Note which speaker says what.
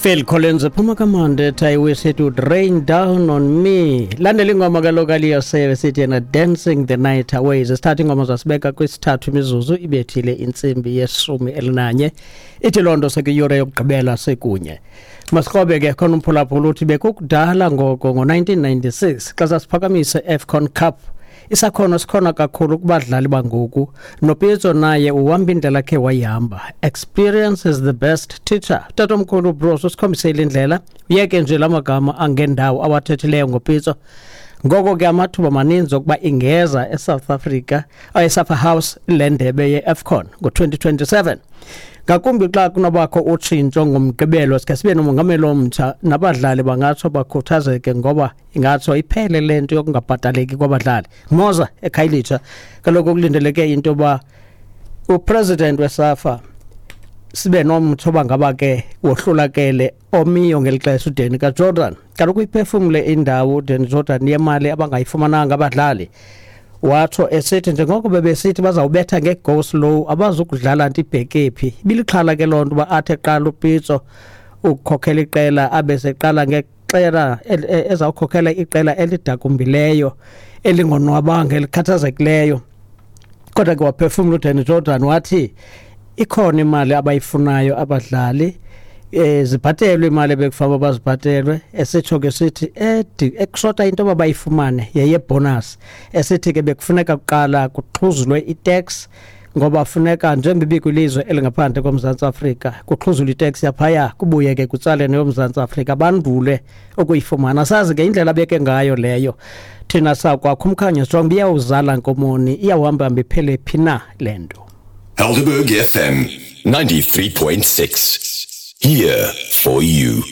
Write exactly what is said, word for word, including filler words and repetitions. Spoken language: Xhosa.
Speaker 1: Phil Collins ephuma kamandi ethi "I wish it would rain down on me". Landela ingoma kaloku aliyoseve sithi yena "Dancing the Night Away". Sithatha ingoma zasibeka kwisithathu imizuzu ibethile intsimbi yeshumi elinanye. Ithi loo nto sekuyure yokugqibela sekunye. Masikrobe ke khona umphulaphula uthi bekukudala ngoko ngo-nineteen ninety-six xa sasiphakamise AFCON Cup. Isakhono sikhona kakhulu kubadlali bangoku, noPitso naye uhamba indlela akhe wayihamba. Experience is the best teacher. Tatomkhulu Bros usikhombisile indlela, uyeke nje la magama angendawo awathethileyo ngoPitso. Ngoko ke amathuba maninzi okuba ingeza eSouth Africa, eSafa House, le ndebe ye-AFCON ngo-twenty twenty-seven, ngakumbi xa kunobakho utshintsho ngoMgqibelo, sike sibe nomongameli omtsha, nabadlali bangatsho bakhuthazeke ngoba ingatsho iphele le nto yokungabhataleki kwabadlali. Moza eKhayelitsha kaloku kulindeleke into yoba upresident weSAFA sibe nomtsho bangaba ke wohlulakele omiyo ngeli xesha uDanny kaJordaan. Kaloku iphefumle indawo uDanny Jordan yemali abangayifumananga abadlali, watsho esithi njengoko bebesithi bazawubetha nge-go slow, abazukudlala nto ibheke phi. Ibilixhala ke loo nto uba athi eqala uPitso ukukhokhela iqela abe seqala ngeqela ezawukhokhela iqela elidakumbileyo, elingonwabanga, elikhathazekileyo. Kodwa ke waphefumla uDanny Jordan wathi ikhona imali abayifunayo abadlali, eh zibhatelwe imali ebekufanele bazibhatelwe, esitsho ke sithi edi ekushota into abayifumane yeye-bonus, esithi ke bekufuneka kuqala kuxhuzulwe itax ngoba funeka njengoba ibikwilizwe elingaphandle koMzantsi Afrika, kuxhuzulwe itax yaphaya, kubuye ke kutsale neyoMzantsi Afrika, bandule ukuyifumana. Sazi ke indlela abeke ngayo leyo. Thina sakwakho umkhanyo sijong iyawuzala nkomoni, iyawuhamba hamba iphele phi na le nto.
Speaker 2: Helderberg F M ninety-three point six. Here for you.